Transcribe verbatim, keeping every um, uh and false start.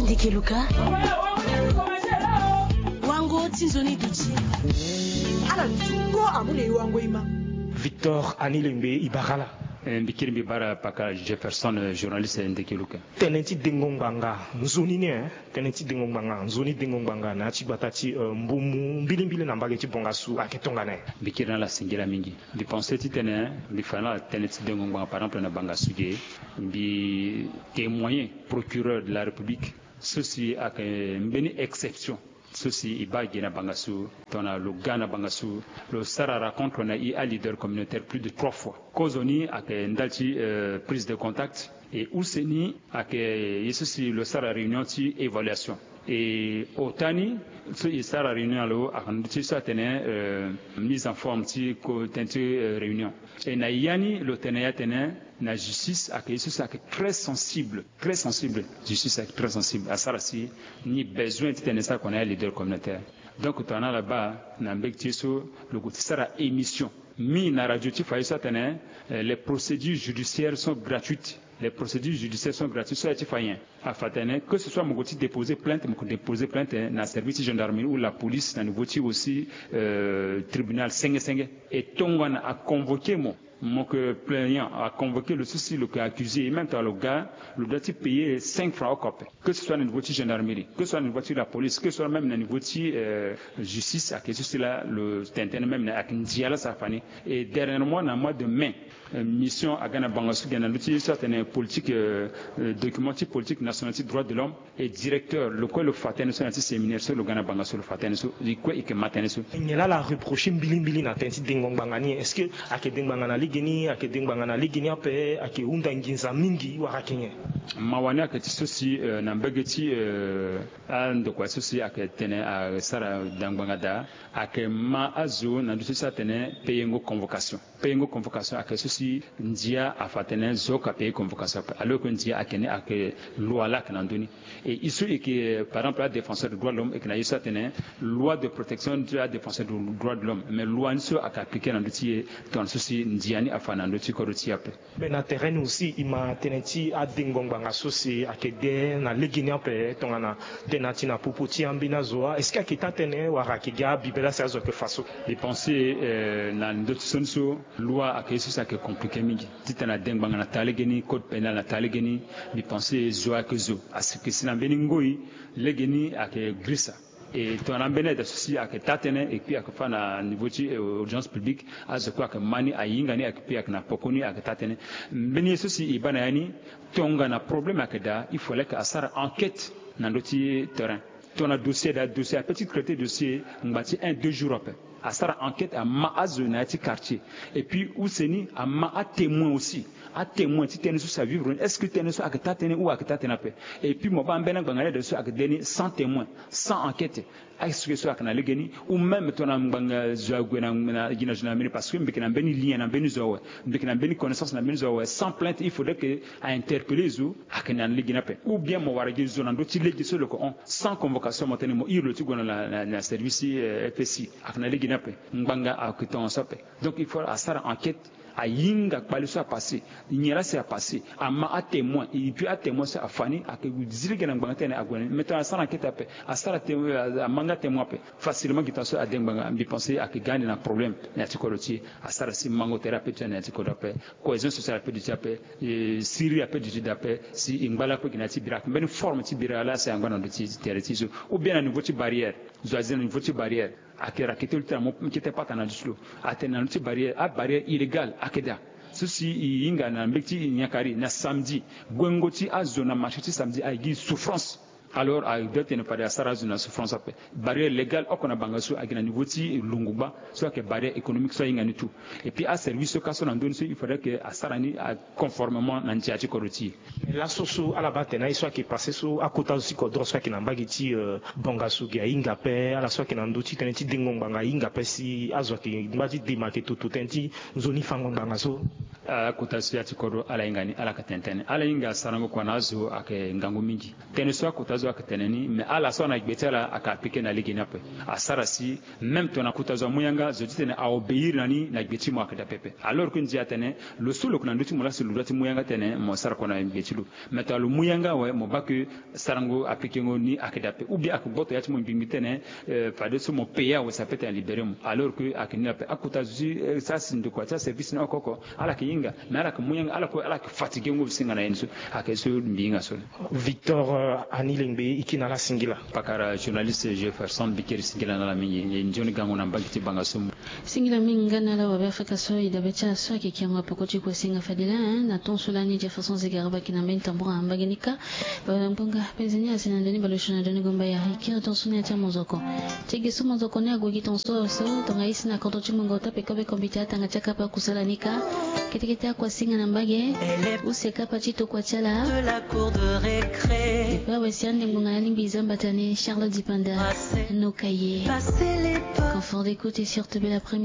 Ndeke Luka. Wango ti nzoni duti. Ala nzungo amu na e wango e ma. Victor Anilengbe, e bara ala. Eh, mbi kiri mbi bara paka Jefferson, eh, journaliste, eh, Ndeke Luka. Tënë ti dengo ngbanga nzoni ni, eh? Tënë ti dengo ngbanga nzoni, dengo ngbanga na ya ti gbata ti, eh, mbumu mbilimbili na mbage ti bongasu ayeke tongana nyen? Mbi kiri na ala singila mingi. Mbi pense titene mbi fa na ala tënë ti dengo ngbanga, par exemple, na bangasu ge, mbi témoigner procureur de la République so si ayeke mbeni exception so si e baa gi na bangasu, tongana lo ga na bangasu, lo sara rencontre na e aleader communautaire plus de trois fois. Kozoni ayeke ndali ti, euh, prise de contact, e use ni ayeke ye so si lo sara réunion ti évaluation. E ota ni so e sara réunion na lo ayeke na ndö ti so atene, euh, mise en forme ti ko tënë ti, euh, réunion. E na ya ni lo tene ya atene na justice ayeke ye so si ayeke très sensible, très sensible. Justice ayeke très sensible, asara si ni besoin titene e sara kua na ya leader communautaire. Donc tongana ala baa na mbege ti ye so lo gue ti sara émission, mingi na radio ti fa ye so atene, eh, les procédures judiciaires sont gratuites. Les procédures judiciaires sont gratuites, so aye ti fa nyen? Afa atene que ce soit mo gue ti déposer plainte, mo gue déposer plainte, eh, na service ti gendarmerie ou la police, na niveau ti aussi, euh, tribunal senge senge. E tongana aconvoqué mo, mo yeke plaignant, aconvoqué lo so si lo yeke accusé, e même tongana lo ga, lo doit ti payer cinq francs oko ape. Que ce soit na niveau ti gendarmerie, que ce soit na niveau ti la police, que ce soit même na niveau ti, euh, justice, ayeke so si laa lo tene tënë même na ayeke ndia laa so afa ni. Et dernièrement na mois de mai, euh, mission aga na bangasu ge na ndö ti so atene politique, euh, euh, document ti politique nationale ti droit de l'homme. E directeur lo kue lo fa tënë so na ya ti séminaire so lo ga na bangasu, lo fa tënë so, e kue e yeke ma tënë so. Nyen laa ala reprocher mbilimbili na tënë ti dengo ngbanga ni? Est-ce que ayeke de ngbanga na legeni, ayeke de ngbanga na legeni ape, ayeke hunda nginza mingi wala ayeke nyen? Mawa ni ayeke ti so si, euh, na mbege ti, euh, andokua so si ayeke tene asara da ngbanga daa, ayeke ma azo na ndö ti so si atene payengo convocation. Payengo convocation ayeke so si ndia afa atene zo oko apayer convocation ape, alors que ndia ayeke ni, ayeke loi laa ayeke na ndö ni. Et e so e yeke, par exemple, adéfenseur de droit de l'homme, e yeke na ye so atene loi de protection ti adéfenseur de droit de l'homme, mais loi ni so ayeke appliqué na ndö ti e, tongana so si ndia ni afa na ndö ti kodro ti e ape. Mais na terrain ni aussi e ma tënë ti adengo ngbanga so si ayeke de na legeni ape, tongana tënë ti na popo ti ambeni azo wa, est-ce que ayeke taa tënë wala ayeke gi abibe laa si azo ayeke fa so? Mbi pense, euh, na ndö ti sioni so, loi ayeke ye so si ayeke compliqué mingi. Titene ade ngbanga na taa legeni, code pénal na taa legeni, mbi pense zo ayeke zo, ayeke si na mbeni ngoi, legeni ayeke girisa. E tongana ambeni aye daa so si ayeke taa tënë, et puis ayeke fa na niveau ti, euh, audience publique, azo kue ayeke ma ni, ahinga ni, et puis ayeke na poko ni, ayeke taa tënë. Mbeni ye so si e baa na ya ni, tongana problème ayeke daa, il fallait que asara enquête na ndö ti terrain. Tongana dossier daa, dossier ape ti traiter dossier ngba ti un deux jours ape. Asara enquête, ama azo na ya ti quartier. Et puis use ni ama atémoin aussi. Atémoin ti tënë so si avivre ni, est-ce que tënë so ayeke taa tënë ou ayeke taa tënë ape? Et puis mo baa ambeni angbanga ni ade so ayeke de ni sans témoin, sans enquête. Est-ce que so ayeke na legeni? Ou même tongana ngbanga zo ague na, na, gi na gendarmerie, parce que mbi yeke na mbeni lien na mbeni zo awe, mbi yeke na mbeni connaissance na mbeni zo awe, sans plainte il faudrait que a interpeller zo, ayeke na legeni ape. Ou bien mo wara gi zo na ndö ti lege so lo yeke hon, sans convocation, mo tene mo iri lo ti gue na, na, na service, euh, F S I, ayeke na legeni ape. Ngbanga ayeke tongaso ape. Donc il faut asara enquête, ahinga kpale so apassé, nyen laa si apassé, ama atémoin, et puis atémoin so afa ni, ayeke zi lege na ngbanga ti tene ague na ni. Mais tongana asara enquête ape, asara témoin, ama nga témoin ape, facilement gi tongaso ade ngbanga. Mbi pense ayeke ga ande na problème na ya ti kodro ti e. Asara si mango tere ape duti na ya ti kodro ape, cohésion sociale ape duti ape, eh, siriri ape duti daa ape, si e ngba lakue gi na ya ti bira, ayeke mbeni forme ti bira laa si angba na ndo ti tere ti e so, ou bien na niveau ti barrière. Zo azi na niveau ti barrière, ayeke rakete lo ti na mo kete pata na ndo ti lo. Atene na ndo ti barrière, abarrière illégale ayeke daa. So si e hinga na mbeti ti nyakari na samedi, guengo ti azo na marché ti samedi ayeke gi souffrance. Alors a doit tene fade asara azo na souffrance ape. Barrière légale oko na bangasu ayeke na niveau ti lungugba, so ayeke barrière économique so ahinga ni tout. Et puis aservice so ka so na ndö ni so il faudrait que asara ni a conformément na ndia ti kodro ti e. Mais laso so ala baa atene na ye so ayeke passé so, akota zo ti kodro so ayeke na mbage ti, euh, bongasu ge ahinga ape, ala so ayeke na ndö ti tënë ti dengo ngbanga ahinga ape, si azo ayeke ngba ti dema ayeke toto tënë ti nzoni fango ngbanga so. Akota so ya ti kodro ala hinga ni, ala yeke tene tënë. Ala hinga sarango kua na azo ayeke ngangu mingi. Tënë so akota azo ayeke tene ni, me ala so ana gbe ti ala ayeke appliquer na lege ni ape. Asara si même tongana kota zo amu yanga, zo ti tene a obéir na ni na gbe ti mo ayeke daa pepe. Alors que ndia atene lo so lo yeke na ndö ti mo laa si lo doit ti mu yanga tene mo sara kua na gbe ti lo. Mais tongana lo mu yanga awe, mo baa que sarango apikengo ni ayeke daa ape. Ou bien ayeke gboto ya ti mo ngbingbi tene, euh, fadeso mo payer awe, ça peut libérer mo. Alors que ayeke ni ape. Akota zo ti, euh, sara si ndokua ti aservice ni oko oko, ala yeke hinga, mais ala yeke mu yanga, ala kue ala yeke fatiguengo singa na ye ni so. Ayeke so mbi hinga so. Victor, euh, Anilengbe, e kiri na ala singila. Pakara journaliste Jefferson, mbi kiri singila na ala mingi. E nzoni gango na mbage ti banga so. Singila mingi nga na ala wabe Afrika so e dabe ti ala so ayeke kiango apoko ti kua singa fade laa, hein, na ton so lani Jefferson Zegaraba ayeke na mbeni tambura na mbage ni kâ. Baba na ngbonga penze ni asi na ndoni baleusio na ndoni gomba ya e kiri ton so ni ya ti amonzoko. Ti ge so monzoko ni ague gi ton so so, tonga e si na kodro ti mungo tape kobe kombite atanga ti akapa kusala ni kâ. Kete kete akua singa na mbage. Use kapa ti tokua ti ala. Depe awe si ande ngbonga na alingbi e za mbata ni Charlotte Dipanda. Noka ye. Confort d'écoute et surtout bel après-midi.